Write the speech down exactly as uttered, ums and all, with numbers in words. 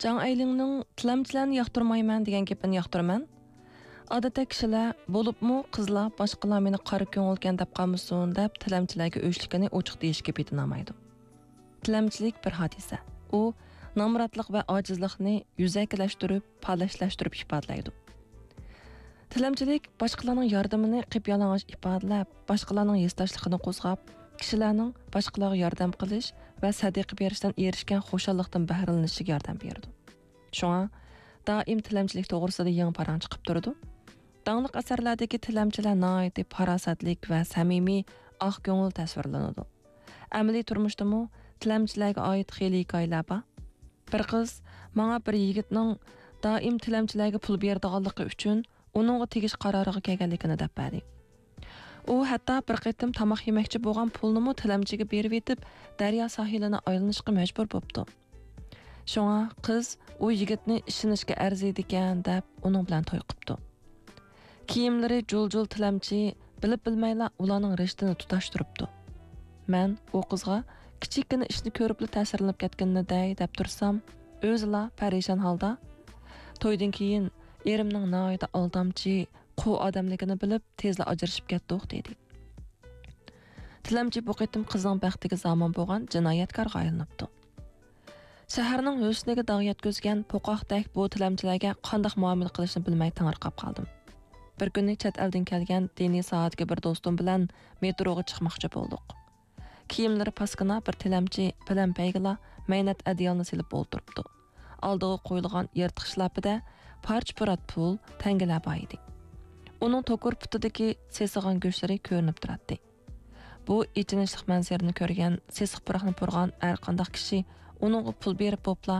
جاڭ ئەيلىڭنىڭ «تىلەمچىلەرنى ياقتۇرمايمەن» دېگەن گېپىنى ياقتۇرىمەن. ئادەتتە كىشىلەر، بولۇپمۇ قىزلار، باشقىلار مېنى قارا كۆڭۈلكەن دەپ قالمىسۇن دەپ، تىلەمچىلەرگە ئۆچلۈكىنى ئوچۇق دېيىشكە پېتىنالمايدۇ. تىلەمچىلىك بىر ھادىسە. ئۇ نامراتلىق ۋە ئاجىزلىقنى يۈزەكىلەشتۈرۈپ، پالەچلەشتۈرۈپ ئىپادىلەيدۇ. تىلەمچىلىك باشقىلارنىڭ ياردىمىنى قىپيالىڭاچ ئىپادىلەپ، باشقىلارنىڭ ھېسداشلىقىنى قوزغاپ، كىشىلەرنىڭ باشقىلارغا ياردەم قىلىش ۋە سەدىقە بېرىشتىن ئېرىشكەن خۇشاللىقتىن بەھرىلىنىشىگە ياردەم بېرىدۇ. شۇڭا دائىم تىلەمچىلىك توغرىسىدا يېڭى پاراڭ چىقىپ تۇرىدۇ. داڭلىق ئەسەرلەردىكى تىلەمچىلەر ناھايىتى پاراسەتلىك ۋە سەمىمىي، ئاق كۆڭۈل تەسۋىرلىنىدۇ. ئەمەلىي تۇرمۇشتىمۇ تىلەمچىلەرگە ئائىت خېلى ھېكايىلەر بار. بىر قىز ماڭا بىر يىگىتنىڭ دائىم تىلەمچىلەرگە پۇل بېرىدىغانلىقى ئۈچۈن ئۇنىڭغا تېگىش قارارىغا كەلگەنلىكىنى دەپ بەردى. ئۇ ھەتتا بىر قېتىم تاماق يېمەكچى بولغان پۇلنىمۇ تىلەمچىگە بېرىۋېتىپ، دەريا ساھىلىنى ئايلىنىشقا مەجبۇر بوپتۇ. شۇڭا قىز ئۇ يىگىتنى ئىشىنىشكە ئەرزىيدىكەن دەپ ئۇنىڭ بىلەن توي قىپتۇ. كىيىملىرى جۇل-جۇل تىلەمچى بىلىپ-بىلمەيلا ئۇلارنىڭ رىشتىنى تۇتاشتۇرۇپتۇ. مەن ئۇ قىزغا كىچىككىنە ئىشنى كۆرۈپلا تەسىرلىنىپ كەتكىنىنى دەي دەپ تۇرسام، ئۆزىلا پەرىشان ھالدا، «تويدىن كېيىن ئېرىمنىڭ ناھايىتى ئالدامچى، قۇ ئادەملىكىنى بىلىپ، تېزلا ئاجرىشىپ كەتتۇق» دېدى. تىلەمچى بۇ قېتىم قىزنىڭ بەختىگە زامىن بولغان جىنايەتكارغا ئايلىنىپتۇ. شەھەرنىڭ ھۆسنىگە داغ يەتكۈزگەن پوقاقتەك بۇ تىلەمچىلەرگە قانداق مۇئامىلە قىلىشنى بىلمەي تېڭىرقاپ قالدىم. بىر كۈنى چەت ئەلدىن كەلگەن دىنىي ساھەدىكى بىر دوستۇم بىلەن مېتروغا چىقماقچى بولدۇق. كىيىملىرى پاسكىنا بىر تىلەمچى پەلەمپەيگىلا مەينەت ئەدىيالنى سېلىپ ئولتۇرۇپتۇ. ئالدىغا قويۇلغان يىرتىق شىلاپىدە پارچە-پۇرات پۇل، تەڭگىلەر بار ئىدى. ئۇنىڭ توكۇر پۇتىدىكى سېسىغان گۆشلىرى كۆرۈنۈپ تۇراتتى. بۇ ئېچىنىشلىق مەنزىرىنى كۆرگەن، سېسىق پۇراقنى پۇرىغان ھەرقانداق كىشى ئۇنىڭغا پۇل بېرىپ بوپلا،